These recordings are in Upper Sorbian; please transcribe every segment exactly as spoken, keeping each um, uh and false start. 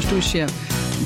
Tuž je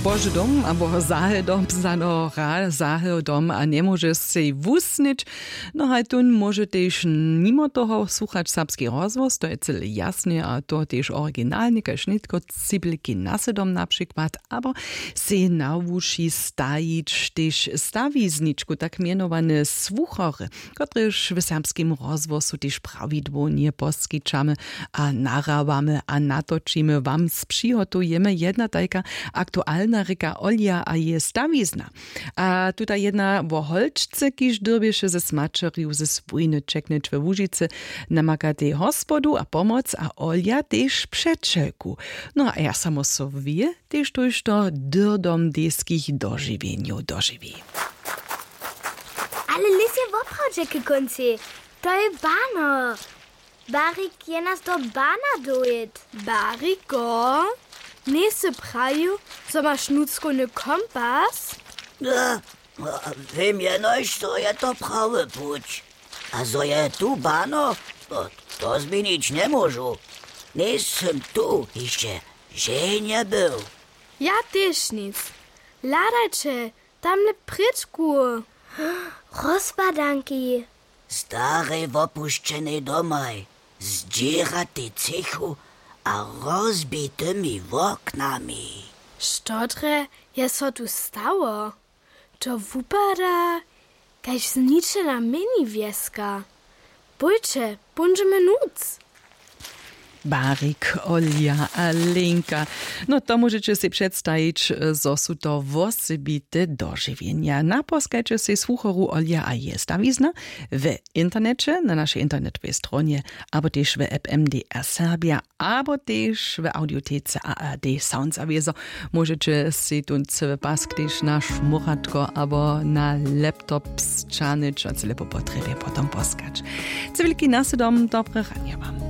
Bože dom abo zahe dom zano ra zahe dom a njemóže sej wusnyć. No haj tón móže tež nimo toho słuchać serbski rozhłos, to je cyle jasne a to tež originalne kaž nětko cibliki na sedom na přikład abo sej na wuši stajić tež stawizničku tak mjenowane słuchory, kotrež w serbskim rozhłosu tež prawidłownje poskićamy a nahrabamy a natočimy wam z přihotujemy jedna tajka aktualna rěka olja a je stawizna. A tuta jedna wo holčce kiž dyrbješe ze smaćerju ze swójny čeknyć we łužicy, namakatej hospodu a pomoc a olja tež přećelku. No a ja samo so wě tež tójšto dyrdom dejskich dožiwjenjow dožiwi. Ale lys je woprawdźe k kóncej. To je bano. Barik je nas do bana dowěd. Bariko, njejsy prajił, zo maš nutřkowny kompas? Wěm jenož zo je to prawy puć. A zo je tu bano, to změnić njemóžu. Njejsym tu hišće ženje był. Ja tež nic. Hladajće, tamle prěčku. Rozpadanki. Starej wopušćenej domaj, zdźěratej třěchu a rozbitymi woknami. Što drje je so tu stało? To wupada kaž zničena mjenjewjeska. Pójće, póńdźemy nutř. Barik, olja a linka. No to móžeće sej předstajić, zo su to wosebite dožiwjenja. Naposkajće sej słuchoru olja a je stawizna w interneće na našej internetowej stronje abo tež w app mdr serbja abo tež w audiotece ard sounds a wězo. Móžeće sej tón cyły pask tež na šmóratko abo na laptop sćahnyć a cyle po potrjebje potom poskać. Cywilki na sydom dobre ranje wam.